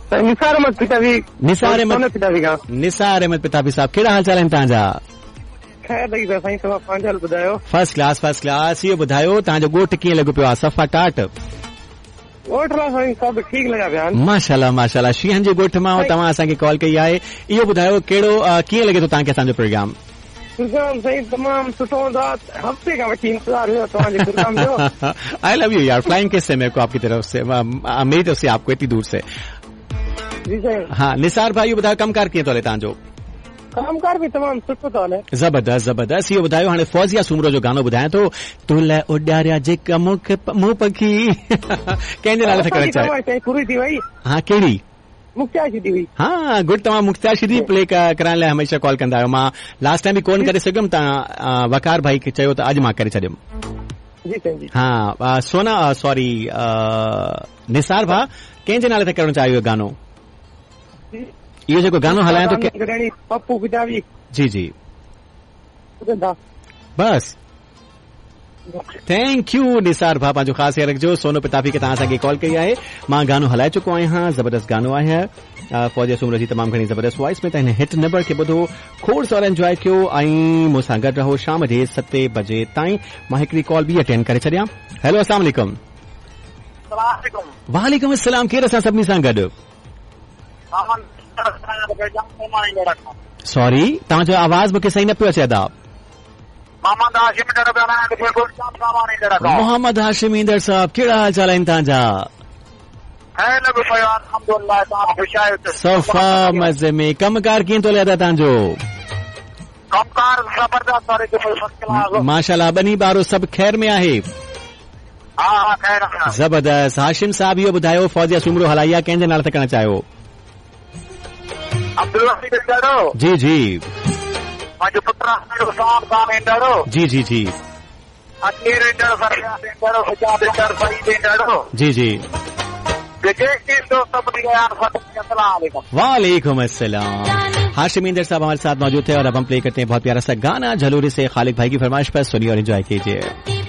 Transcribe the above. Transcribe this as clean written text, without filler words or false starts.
साईं निसार अहमद पितावी। निसार अहमद सोनो पितावी खां। निसार अहमद पितावी साहब, कहिड़ा हाल चाल आहिनि तव्हांजा? ख़ैर लॻी पियो साईं, तव्हां पंहिंजो हाल ॿुधायो। First class, first class. इहो ॿुधायो तव्हांजो ॻोठ कीअं लॻो पियो आहे? सफ़ा टाट? ॻोठ लाइ साईं सभु ठीकु लॻा पिया आहिनि। माशाल्लाह माशाल्लाह। शींहनि जे ॻोठ मां तव्हां असांखे कॉल कई आहे। इहो ॿुधायो कहिड़ो कीअं लॻे थो तव्हांखे असांजो प्रोग्राम? प्रोग्राम साईं तमामु सुठो हूंदो आहे, हफ़्ते खां वठी इंतज़ार हुयो तव्हांजे प्रोग्राम जो। I love you यार, फ्लाइंग किस है मेरे को आपकी तरफ से, मेरी तरफ से आपको इतनी दूर से। जी साईं। हा निसार भाई, इहो ॿुधायो कमकार कीअं थो हले तव्हांजो? कमकार बि तमामु सुठो थो हले। ज़बरदस्त ज़बरदस्त। इहो ॿुधायो हाणे फौजिया सूमरो जो गानो ॿुधायां थो, तो लाइ उॾारिया जेका मूंखे मूं पखी, कंहिंजे नाले ते करणु चाहे? पूरी थी वई। हा कहिड़ी? मुख्तियार शिदी हुई। हा गुड, तव्हां मुख्तियार शिदी प्ले कराइण लाइ हमेशह कॉल कंदा आहियो। मां लास्ट टाइम बि कोन करे सघियुमि, तव्हां वकार भाई खे चयो त अॼु मां करे छॾियुमि। जी साईं जी। हा सोना, सॉरी निसार भाउ, कंहिंजे नाले ते करणु चाहियो इहो गानो? इहो जेको गानो हलायां थो पप्पू पितावी। जी जी बस, thank you Nisar भाउ, पंहिंजो ख़ासि ख़्यालु रखिजो। सोनो पिताफी खे तव्हां असांखे कॉल कई आहे, मां गानो हलाए चुको आहियां, ज़बरदस्त गानो आहे फौजिया सूमरो जी तमामु घणी ज़बरदस्त वॉइस में। त हिन हिट नंबर खे ॿुधो, खोड़ सारा एंजॉय कयो ऐं मूंसां गॾु रहो शाम जे 7 बजे ताईं। मां हिकिड़ी कॉल बि अटेंड करे छॾियां। हेलो अस्सलाम वालेकुम। वालेकुम अस्सलाम। केरु असां सभिनी सां गॾु? सॉरी, तव्हांजो आवाज़ मूंखे सही न पियो अचे अदा। मोहम्मद हाशिम ईंदड़ साहब, कहिड़ा हाल चाल आहिनि तव्हांजा? सफ़ा मज़े में। कमकार कीअं थो हले अदा तव्हांजो? माशाल्लाह, ॿनी ॿारो सभु ख़ैर में आहे? ज़बरदस्त। हाशिम साहब, इहो ॿुधायो फौजिया सूमरो हलाई आहे, कंहिंजे नाले ते करणु चाहियो? जी जी जी जी जी जी जी। वालेकुम अस्सलाम। हाशिम इंदर साहब हमारे साथ मौजूद थे और अब हम प्ले करते हैं बहुत प्यारा सा गाना झलोरी से खालिक भाई की फरमाइश पर। सुनिए और एंजॉय कीजिए।